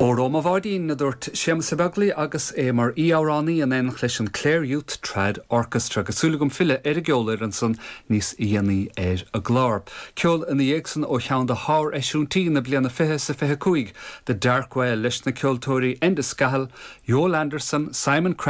Óró mo bháidín, a dúirt Séamus Ó Beaglaoich agus é mar aoi-amhránaí in éineacht leis an Clare Youth Trad Orchestra, agus súil agam filleadh ar an gceolfhoireann san níos dhéanaí ar an gclár. Ceol ina dhiaidh san ó cheann de shár-eisiúintí na bliana 20 is 25, The Dark Well, leis na ceoltóirí Enda Scahill, Joel Anderson, Simon.